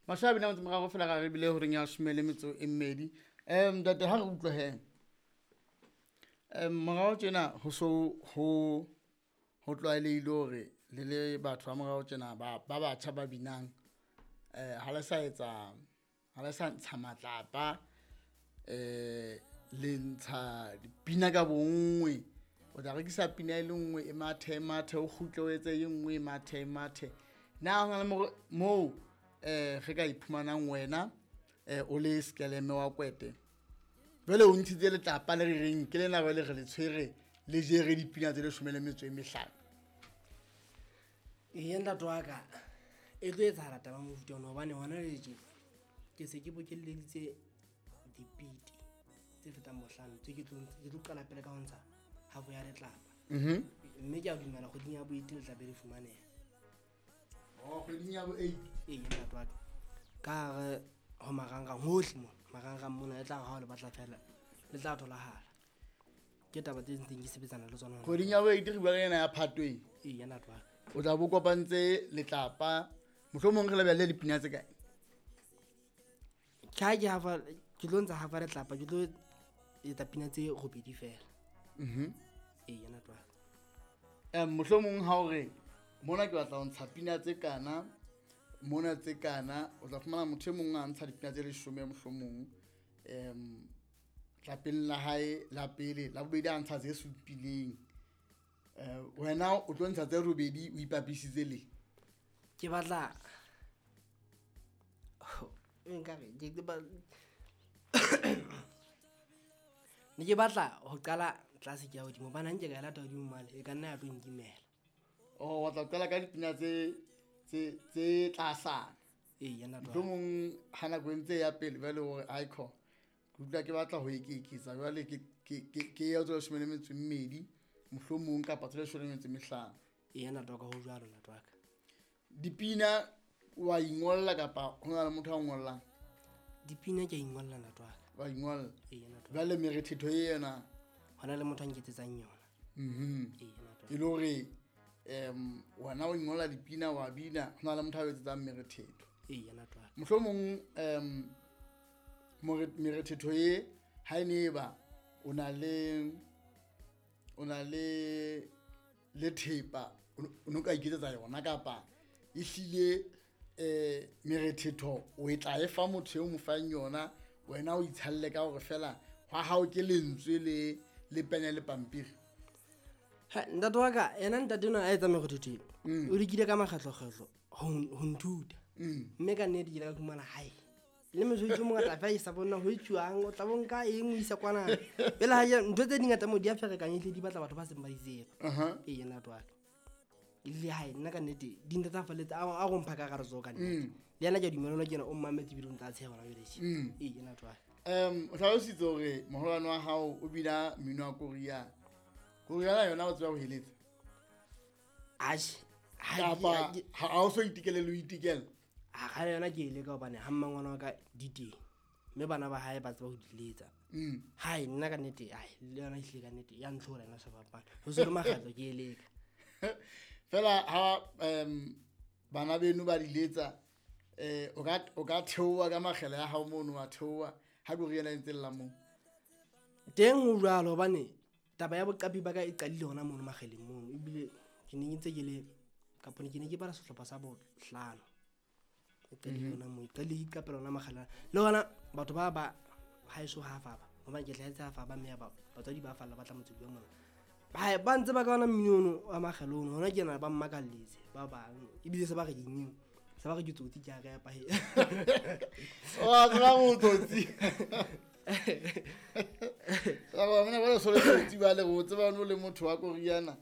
Masha bina motse morago fela ga re bile horeng ya 12. Ntate ha re utlwe he. Morao tjena ho so ho tlwaelehile hore le le batho ba morao tjena ba batjha ba binang, ha le sa etsa, ha le sa ntsha matlapa, le ntsha dipina ka bonngwe. O tla rekisa pina e le nngwe e mathe mathe, o kgutle o etse e nngwe e mathe mathe. Na hona le moo re ka iphumanang wena o le Skeleme wa Kwete, jwale o ntshitse letlapa le re reng ke lena jwale re le tshwere le jere dipina tse 15. Eya ntate wa ka, e tlo etsahala taba mofuta ona, hobane hona le tje ke se ke bokelleditse dipiti tse fetang bohlano tse ke tlo qala pele ka ho ntsha half ya letlapa. Mme ke a dumela kgweding ya bo 8 le tla be le fumaneha. Oh, kgweding ya bo 8. Ee, ntate wa ka. Ka hare ho marangrang hohle mona, marangrang mona e tla re ha o le batla fela, le tla tholahala. Ke taba tse ntseng ke sebetsana le tsona. Kgweding ya bo 8 re bua ka ena ya Phatweng. Ee, ntate wa ka. O tla bo kopantse letlapa, mohlomong re lebelle dipina tse kae? Ke ha ke hafa, ke tlo ntsha hafa letlapa, ke tlo etsa pina tse robedi fela. Ee, ntate wa ka. Mohlomong ha o re mona ke batla ho ntsha pina tse kana, mona tse kana, o tla fumana motho e mong a ntsha dipina tse 10 mohlomong. Tlapeng la hae la pele, la bobedi a ntsha tse supileng. Wena o tlo ntsha tse robedi o ipapisitse le. Ke batla nkare ke ba ne ke batla ho qala tlase ke ya hodimo, hobane ha nke ka e lata hodimo mane e ka nna ya tlo nkimela. Oh, wa tla qala ka dipina tse tlasana. Ee, ntate wa ka. Mohlomong ha nako e ntse ya pele jwale hore icon ke utlwa ke batla ho eketsa jwale ke ya tse 12 mohlomong kapa tse 15. Ee, ntate wa ka, ho jwalo ntate wa ka. Dipina wa ingolla kapa ho na le motho a ngollang? Dipina ke a ingolla ntate wa ka. Wa ingolla? Ee, ntate wa ka. Jwale merethetho e yena? Hona le motho a nketsetsang yona. Ee, ntate wa ka. E le hore wena o ingolla dipina wa bina, ho na le motho a etsetsang merethetho. Ee, ntate wa ka. Mohlomong merethetho e ha e ne ba o na le thepa o no ka iketsetsa yona, kapa ehlile merethetho o e tla e fa motho eo mo fang yona, wena o itshalle ka hore fela hwa hao ke lentswe le pene le pampiri. Ha, ntate wa ka, yena ntate enwa a etsa merethetho eo, o lekile ka makgetlokgetlo ho nthuta. Mme ka nnete ke ile ka fumana hae. Le mosebetsi o mongata fa e sa bona ho etsuwang, o tla bo nka eng o isa kwana. Pele ha ya, ntho tse dingata mo di a ferekanya, ehlile di batla batho ba seng ba di tseba. Ee, ntate wa ka. Le hae, nna ka nnete, di nthatafalletse, a go mpha ka gare tsoho ka nnete. Le yena ke a dumela, ke yena o mmametse ebile o ntse a tsheha hona jwale tje. Ee, ntate wa ka. O hlalositse hore moholwane wa hao o bina mmino wa koriana. Koriana yona o tseba ho eletsa? Atjhe, ha Kapa ke- ha o so itekele le ho itekela? Ha kgale yona ke e leka hobane ha mmangwana wa ka di teng, mme bana ba hae ba tseba ho di letsa. Hai, nna ka nnete, ai, le yona ehlile ka nnete ya ntlhola yona sefapano. Ho se le makgetlo ke e leka. Fela ha bana beno ba di letsa, o ka theoha ka makgele ya hao mono, wa theoha ha koriana e ntse lla moo. Teng ho jwalo, hobane taba ya boqapi ba ka e qadile hona mono makgeleng mono. Ebile ke ne ke ntse ke le, kapa ke ne ke bala sehlopha sa bohlano. E qadile hona moo, e qadile ke iqapela hona makgele. Le hona batho ba haeso ha faba, hobane ke hlahetse ha faba, mme ya ba batswadi ba falla ba tla motseng wa mona. Ba ntse ba ka ona mmino ono wa makgele ono, hona ke yena ba mmakalletse ba bang. Ebile se ba re ke eng? Se ba re ke tsotsi, ke a repa he. Wa tseba ho tsotsi. Ba bona ba le sole tsotsi ba le ho tseba no le motho wa koriana.